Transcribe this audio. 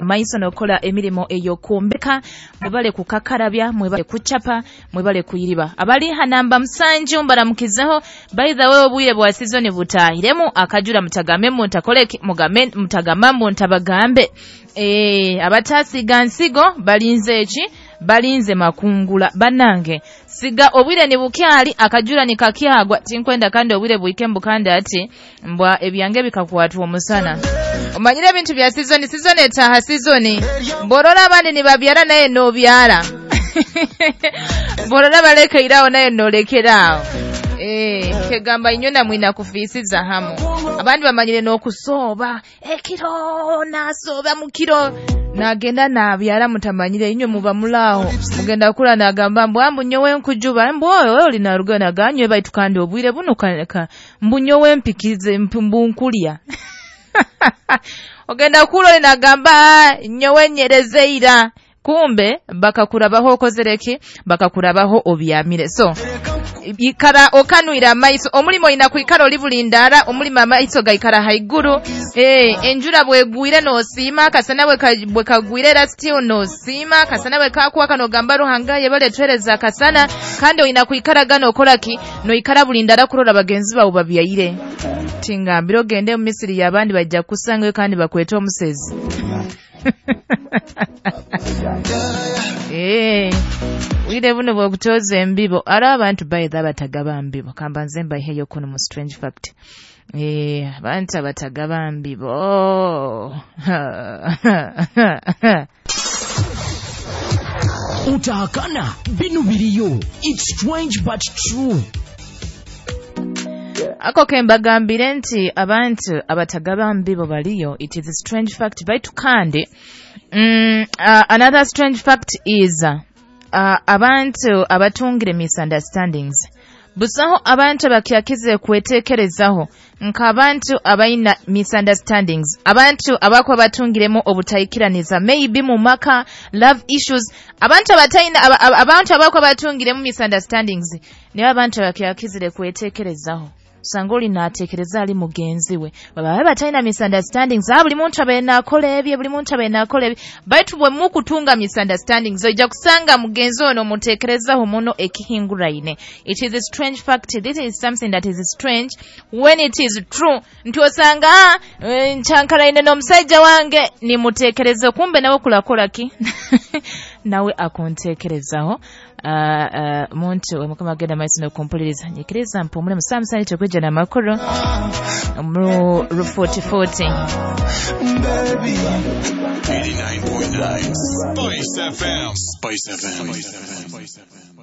Maiso nokola emirimo ey'okwombeka. Mwebale kukakarabya, mwebale kucapa, mwebale kuyiriba. Abali ha namba 7 mbaramukizeho. By the way, obwire bwa season butahiremu akajura, mutagambe mutakoleki, mugame mutagamba mutabagambe. Abatasiga nsigo balinze eki? Balinze makungula. Banange siga obwire ni bukyali, akajura ni kakyagwa, tinkwenda kandi obwire buike mbukanda ati mbwa ebyange bikakwatwa omusana. Omanyire ebintu bya season, season etaha season. Borora abandi ni babyara naye nobyara. Borora balekeirawo naye nolekeraawo. Kegamba inywe namwe nakufisiza hamu. Abandi bamanyire n'okusooba ekiro, nasooba mu kiro nagenda nabyara, mutamanyire inywe muba mulaaho mugenda kula nagamba mbu ambu nyowe nkujuba, mbu oyo oli naruga naganywe baitu kandi obwire buno mbu nyowe mpikize mbu nkulya. Ogenda kula oli nagamba nyowe nyerezeira, kumbe bakakurabaho okozereki, bakakurabaho obyamire. So ikara okanwira amaiso, omulimo ina kuikara oli bulindara, omulimo amaiso gaikara haiguru. Enjura bwegwire nosiima, akasana bwekagwire era still nosiima, akasana bwekakwaka nogamba Ruhanga yebale twereza akasana. Kandi oyina kuikara gano okolaki, noikara bulindara kurora bagenzi bawe babyaire. Tingambira ogende mu Misiri y'abandi bajja kusangayo kandi bakweta omusezi. Wire buno bwokutoza embibo ara abantu baitha abatagaba mbibo. Kamba nze mbaiheyo kuno mu strange fact. Abantu abatagaba mbibo. Utahakana binu biriyo. It's strange but true. Ako kembagambire nti abantu abatagaba mbibo baliyo. It is a strange fact. Baitu kandi another strange fact is abantu abatungire misunderstandings. Busaho abantu abakyakize kwetekerezaho nk'abantu abaina misunderstandings, abantu abakwa batungiremo obutaikiraniza, maybe mu maka, love issues, abantu abataina abantu abakwa batungiremo misunderstandings nibo abantu abakyakizire kwetekerezaho. Sangoli natekereza ali mugenzi we baba bataina misunderstandings, buli muntu abe nakola ebye, buli muntu abe nakola ebye. Baitu bwe mukutunga misunderstandings ojja kusanga mugenzi ono mutekerezaho muno ekihinguraine. It is a strange fact. This is something that is strange when it is true. Nti osanga nchankalaine n'omusajja wange nimutekereza, kumbe nawe kulakola ki? Nawe akuntekerezaho. Muntu mukama agenda maiso n'okumpuliriza, nyikiriza mpumule musamusani kyokujja n'amakuru mu 4040. 89.9 Spice FM. Spice FM.